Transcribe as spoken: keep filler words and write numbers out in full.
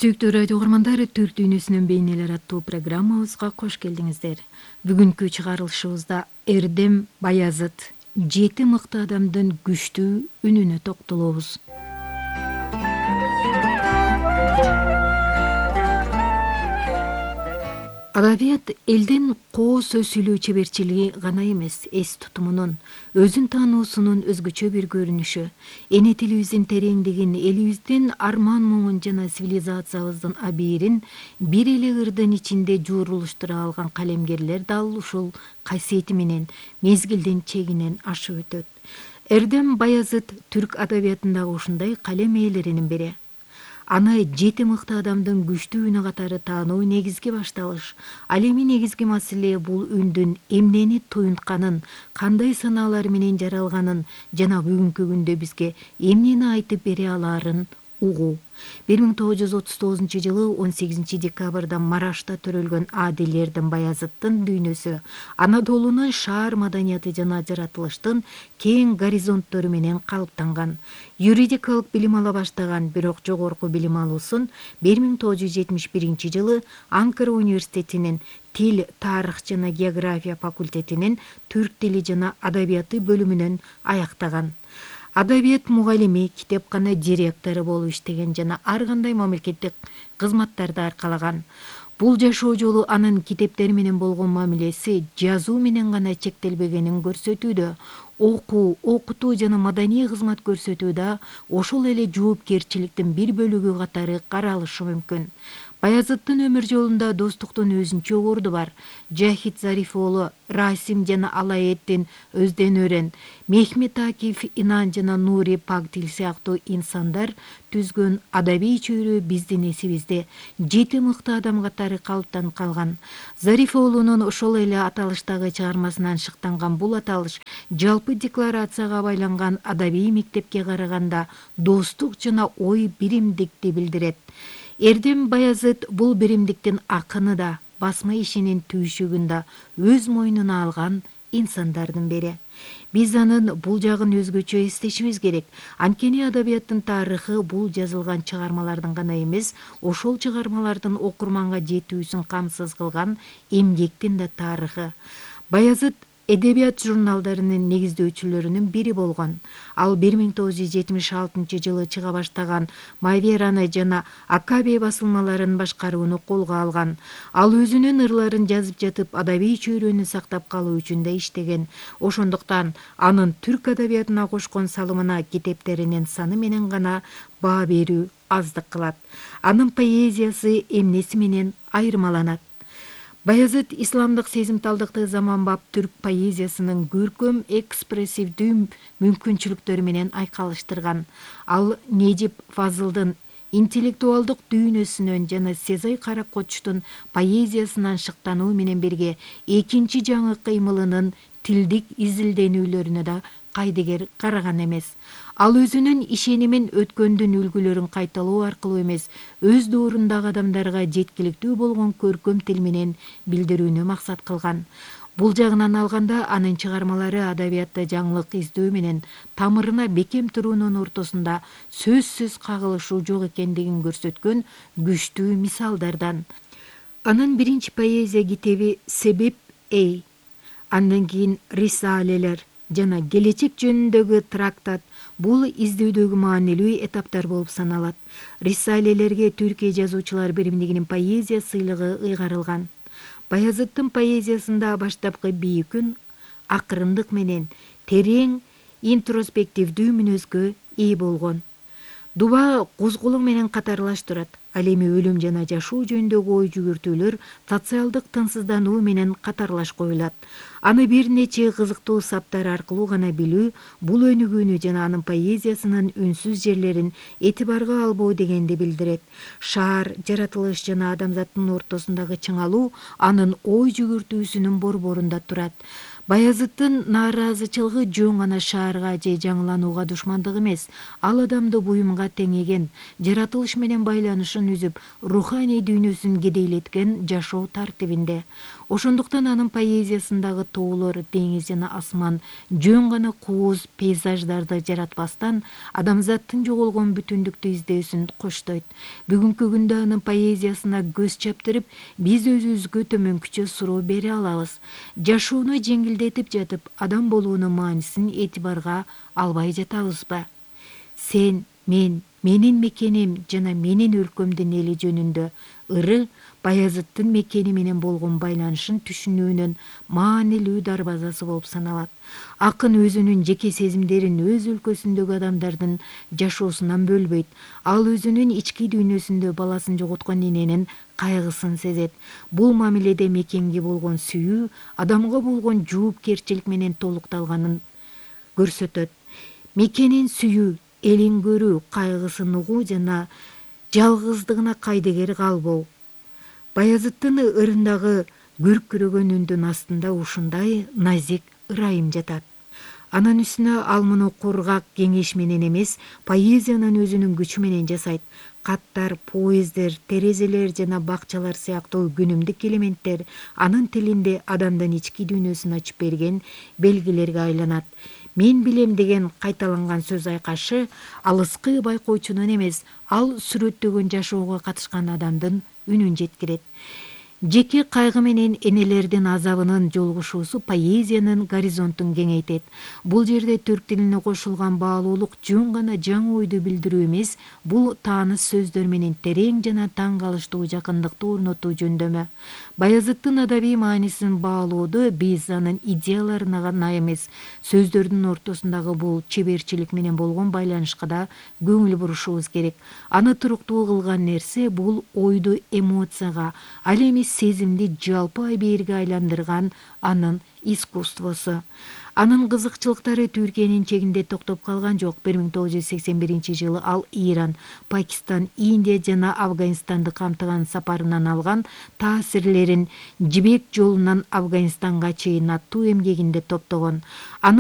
Сүйүктүү радио угармандар, Түрк дүйнөсүнүн бейнелери аттуу программабызга кош келдиңиздер. Бүгүнкү чыгарылышыбызда Эрдем Баязыт жети мыкты адамдын күчтүү үнүнө токтолобуз. Адабият элдин коо сөз сүйлөө чеберчилиги гана эмес, эс тутумунун, өзүн таануусунун өзгөчө бир көрүнүшү. Эне тилибиздин тереңдигин, элибиздин арман муңун жана цивилизациябыздын абийирин бир эле ырдын ичинде жуурулуштура алган калемгерлер дал ушул касиети менен мезгилдин чегинен ашып өтөт. Эрдем Баязыт түрк адабиятындагы ушундай калем ээлеринин бири. Аны жети мыкты адамдын күчтүү үнү катары таануу негизги башталыш. Ал эми негизги маселе бул үндүн эмнени туюнтканын, кандай санаалар менен жаралганын жана бүгүнкү күндө бизге эмнени айтып бере алаарын угуу. бир миң тогуз жүз отуз тогузунчу жылы он сегизинчи декабрда Марашта төрөлгөн Адил Эрдем Баязыттын дүйнөсү Анадолунун шаар маданияты жана жаратылыштын кең горизонттору менен калыптанган. Юридикалык билим ала баштаган, бирок жогорку билим алуусун бир миң тогуз жүз жетимиш биринчи жылы Анкара университетинин Тил, тарых жана география факультетинин түрк тили жана адабияты бөлүмүнөн аяктаган. Адабият мугалими, китепкана директору болуп иштеген жана ар кандай мамлекеттик кызматтарды аркалаган. Бул жашоо жолу анын китептери менен болгон мамилеси жазуу менен гана чектелбегенин көрсөтүүдө. Окуу, окутуу жана маданий кызмат көрсөтүү да ошол эле жоопкерчиликтин бир бөлүгү катары каралышы мүмкүн. Баязыттын өмүр жолунда достуктун өзүнчө орду бар. Жахит Зариф уулу Расим жана Алаэддин Өздөн өрен, Мехмет Акиф Инан жана Нури Пактил сыяктуу инсандар түзгөн адабий чөйрө биздин эсибизде жети мыкты адам катары калыптанып калган. Зариф уулунун ошол эле аталыштагы чыгармасынан шыктанган бул аталыш жалпы декларацияга байланган адабий мектепке караганда достук жана ой биримдикти билдирет. Эрдем Баязыт бул биримдиктин акыны да, басма ишинин түйшүгүн да өз мойнуна алган инсандардын бири. Биз анын бул жагын өзгөчө эстешибиз керек. Анткени адабияттын тарыхы бул жазылган чыгармалардын гана эмес, ошол чыгармалардын окурманга жетүүсүн камсыз кылган эмгектин да тарыхы. Баязыт эдебият журналдарынын негиздөөчүлөрүнүн бири болгон. Ал бир миң тогуз жүз жетимиш алтынчы жылы чыга баштаган Мавераны жана Акаби басылмаларын башкарууну колго алган. Ал өзүнүн ырларын жазып жатып, адабий чөйрөнү сактап калуу үчүн да иштеген. Ошондуктан анын түрк адабиятына кошкон салымына китептеринин саны менен гана баа берүү аздык кылат. Анын поэзиясы эмнеси менен айырмаланат? Баязыт исламдык сезимталдыкты заманбап түрк поэзиясынын көркөм экспрессивдүү мүмкүнчүлүктөрү менен айкалыштырган. Ал Нежип Фазылдын интеллектуалдык дүйнөсүнөн жана Сезай Каракочтун поэзиясынан шыктануу менен бирге экинчи жаңы кыймылынын тилдик изилденүүлөрүнө да кайдыгер караган эмес. Ал өзүнүн ишенимин өткөндүн үлгүлөрүн кайталоо аркылуу эмес, өз доорундагы адамдарга жеткиликтүү болгон көркөм тил менен билдирүүнү максат кылган. Бул жагынан алганда анын чыгармалары адабиятта жаңылык издөө менен тамырына бекем туруунун ортосунда сөзсүз кагылышуу жок экендигин көрсөткөн күчтүү мисалдардан. Анын биринчи поэзия китеби Себеп Эй, андан кийин Рисалелер жана Келечек жөнүндөгү трактат бул издөөдөгү маанилүү этаптар болуп саналат. Рисалелерге Түркия жазуучулар биримдигинин поэзия сыйлыгы ыйгарылган. Баязыттын поэзиясында баштапкы бийик үн акырындык менен терең интроспективдүү мүнөзгө ээ болгон. Дуба козголук менен катарлаш турат. Ал эми өлүм жана жашоо жөнүндөгү ой жүгүртүүлөр социалдык тынчсыздануу менен катарлаш коюлат. Аны бир нече кызыктуу саптар аркылуу гана билүү бул өнүгүүнү жана анын поэзиясынын үнсүз жерлерин этибарга албоо дегенди билдирет. Шаар, жаратылыш жана адамзаттын ортосундагы чыңалуу анын ой жүгүртүүсүнүн борборунда турат. Баязыттын нааразычылыгы жөн гана шаарга же жаңыланууга душмандык эмес, ал адамды буюмга теңеген, жаратылыш менен байланышын үзүп, руханий дүйнөсүн кедейлеткен жашоо тартибинде. Ошондуктан анын поэзиясындагы тоолор, деңиз жана асман жөн гана кооз пейзаждарды жаратпастан адамзаттын жоголгон бүтүндүктү издөөсүн коштойт. Бүгүнкү күндө анын поэзиясына көз чаптырып, биз өзүбүзгө төмөнкүчө суроо бере алабыз. Жашоону жеңилдетип жатып, адам болуунун маанисин этибарга албай жатабызбы? Сен, мен, менин мекеним жана менин өлкөмдүн эли жөнүндө ыры Баязыттын мекени менен болгон байланышын түшүнүүнүн маанилүү дарбазасы болуп саналат. Акын өзүнүн жеке сезимдерин өз өлкөсүндөгү адамдардын жашоосунан бөлбөйт. Ал өзүнүн ички дүйнөсүндө баласын жоготкон эненин кайгысын сезет. Бул мамиледе мекенге болгон сүйүү адамга болгон жоопкерчилик менен толукталганын көрсөтөт. Мекенин сүйүү, элин көрүү, кайгысын угуу жана жалгыздыгына кайдыгер калбоо. Баязыттын ырындагы күркүрөгөн үндүн астында ушундай назик ырайым жатат. Анын үстүнө ал муну кургак кеңеш менен эмес, поэзиянын өзүнүн күчү менен жасайт. Каттар, поездер, терезелер жана бакчалар сыяктуу күнүмдүк элементтер анын тилинде адамдын ички дүйнөсүн ачып берген белгилерге айланат. Мен билем деген кайталанган сөз айкашы алыскы байкоочунун эмес, ал сүрөттөгөн жашоого катышкан адамдын үнүн жеткирет. Жеке кайгы менен энелердин азабынын жолугушуусу поэзиянын горизонтун кеңейтет. Бул жерде түрк тилине кошулган баалуулук жөн гана жаңы ойду билдирүү эмес, бул тааныш сөздөр менен терең жана таң калыштуу жакындыкты орнотуу жөндөмө. Баязыттын адабий маанисин баалоодо биз анын идеяларына гана эмес, сөздөрдүн ортосундагы бул чеберчилик менен болгон байланышка да көңүл бурушубуз керек. Аны туруктуу кылган нерсе бул ойду эмоцияга, ал эми сезимди жалпы абийирге айландырган анын искусствосу. Анын кызыкчылыктары Түркиянын чегинде токтоп калган жок. бир миң тогуз жүз сексен биринчи жылы ал Иран, Пакистан, Индия жана Афганистанды камтыган сапарынан алган таасирлерин «Жибек жолунан Афганистанга чейин» аттуу эмгегинде топтогон.